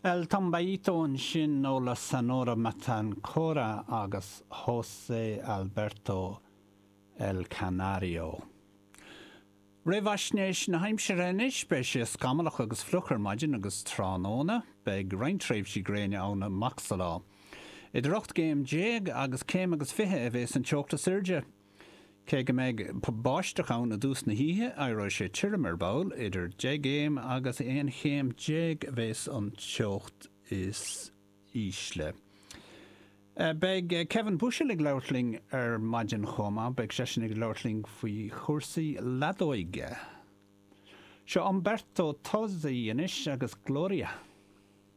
El Tumbaíto ansin ó La Sonora Matancera agus José Alberto El Canario. Réamhaisnéis na haimsire anois, beidh sé scamallach agus fliuch ar maidin agus tráthnóna. Beidh roinnt tréimhsí gréine ann amach sa lá. Idir 18 gcéim agus céim agus 20 a bheas an teocht is airde. Cé go mbeidh báisteach ann i dtús na hoíche, éireoidh sé tirim ar ball, idir 10 gcéim agus 11 chéim a bheas an teocht is ísle. Beidh Kevin Bushell ag labhairt linn ar maidin chomh maith, beidh seisean ag labhairt linn faoi chúrsaí leadóige. Seo Umberto Tozzi anois agus Gloria.